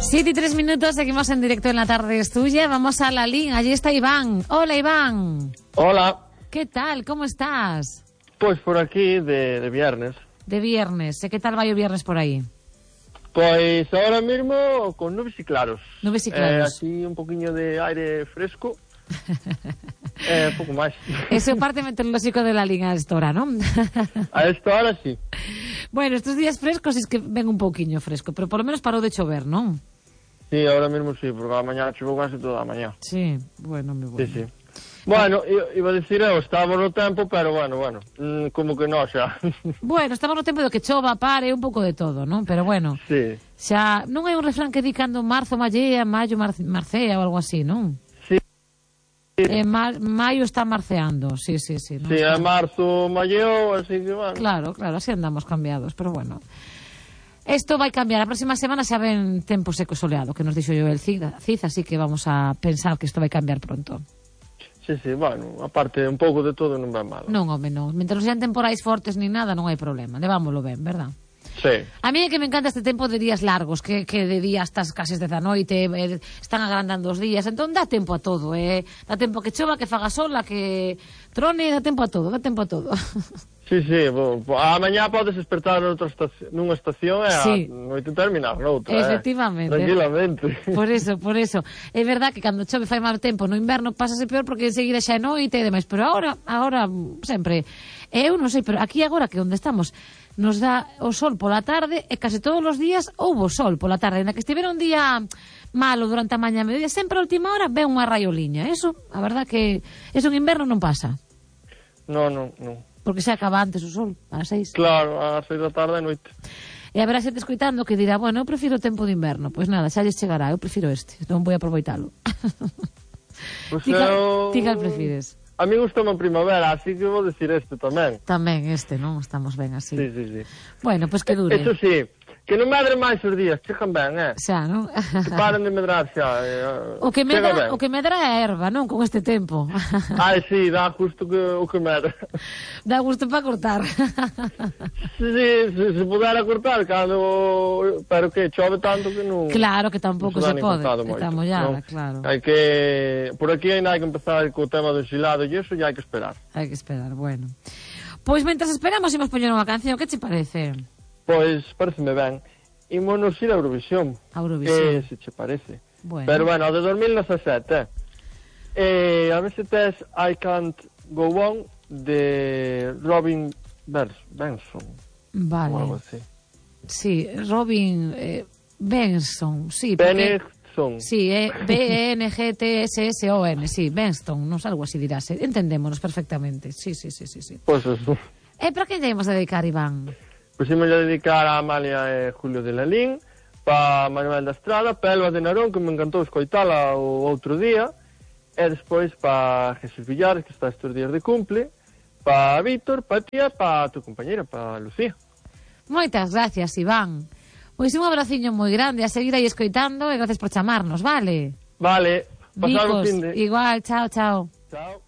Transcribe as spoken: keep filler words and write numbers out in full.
Siete y tres minutos, seguimos en directo en La Tarde es Tuya. Vamos a la línea, allí está Iván. Hola, Iván. Hola. ¿Qué tal? ¿Cómo estás? Pues por aquí, de, de viernes. De viernes. ¿Qué tal va o viernes por ahí? Pues ahora mismo con nubes y claros. Nubes y claros. Eh, así un poquinho de aire fresco. eh, pouco máis. Ese é o parte meteorolóxico de la liga a esta hora, non? A esta hora sí. Bueno, estos días frescos es que ven un pouquiño fresco, pero por lo menos parou de chover, non? Sí, ahora mismo sí, porque a mañá choveu casi toda a mañá. Sí, bueno, me bueno. Sí, sí. Bueno, iba a decir eu, estábamos no tempo, pero bueno, bueno, mm, como que non xa. Bueno, estamos no tempo do que chova, pare, un pouco de todo, non? Pero bueno, sí. Xa, non hai un refrán que di cando marzo mallea, maio mar marcea ou algo así, non? Eh, ma maio está marceando, sí, sí, sí. Sí, a marzo malleo, así que bueno. Claro, claro, así andamos cambiados, pero bueno. Esto vai cambiar, a próxima semana xa ven tempo seco e soleado, que nos dixo yo el Cid, así que vamos a pensar que isto vai cambiar pronto. Sí, sí, bueno, aparte un pouco de todo non vai mal. Non, home, non. Mentre non sean temporais fortes ni nada, non hai problema, levámoslo ben, verdad? Sí. A mí é que me encanta este tempo de días largos, que, que de día estás case desde a noite, eh, están agrandando os días, entón dá tempo a todo, eh? Dá tempo que chova, que faga sol, a que trone, dá tempo a todo, dá tempo a todo. Sí, sí, bo, bo, a mañá podes despertar noutra estación, nunha estación e sí. A noite terminar noutra. Efectivamente. Eh? Tranquilamente. Por eso, por eso. É verdad que cando chove fai mal tempo no inverno pásase peor porque enseguida xa é noite e demais, pero agora, agora sempre, eu non sei, pero aquí agora que onde estamos nos dá o sol pola tarde e case todos os días houbo sol pola tarde, na que estivera un día malo durante a mañá e mediodía, sempre a última hora ve unha raioliña. Eso, a verdad que eso en inverno non pasa. No, no, no. Porque se acaba antes o sol, ás seis. Claro, ás seis da tarde e noite. E haberá xente escoitando que dirá, bueno, eu prefiro o tempo de inverno. Pois nada, xa lles chegará, eu prefiro este, non vou aproveitalo. Pues ti, eu... ti cal prefires? A mí gustame a primavera, así que vou decir este tamén. Tamén este, non? Estamos ben así. Sí, sí, sí. Bueno, pois pues que dure. Eso sí, que non medre máis os días, chegan ben, eh? Xa, non? Que paren de medrar xa. Eh, o, que medra, o que medra é a erva, non? Con este tempo. Ai, sí, dá justo que, o que medra. Dá gusto para cortar. Sí, sí, se, se pudera cortar, cando... Pero que chove tanto que non... Claro que tampouco se, se pode, está mollada, ¿no? claro. Hai que... Por aquí ainda hai que empezar co tema do xilado e iso ya hai que esperar. Hai que esperar, bueno. Pois mentras esperamos imos poñer unha canción, que te parece? Pois pareceme ben. Ímonos ir a Eurovisión. A Eurovisión. Que se che parece. Bueno. Pero bueno, de dos mil dezasete. Eh, a ver se tes I Can't Go On de Robin Benson. Vale. Ou algo así. Sí, Robin eh, Benson, sí. Benson. Sí, é B E N G T S S O N, sí, Benson, non algo así dirás. Entendémonos perfectamente. Sí, sí, sí, sí, sí. Pois pues eso. E para que debemos dedicar, Iván? Pois pues, imos a dedicar a Amalia e Julio de Lalín, para Manuel da Estrada, para Elba de Narón, que me encantou escoitala o outro día, e despois para Jesús Villares, que está estes días de cumple, para Víctor, para tía, para tu compañera, para Lucía. Moitas gracias, Iván. Pois un abraciño moi grande, a seguir aí escoitando e gracias por chamarnos, vale? Vale, pasar o fin de... Igual, chao, chao. Chao.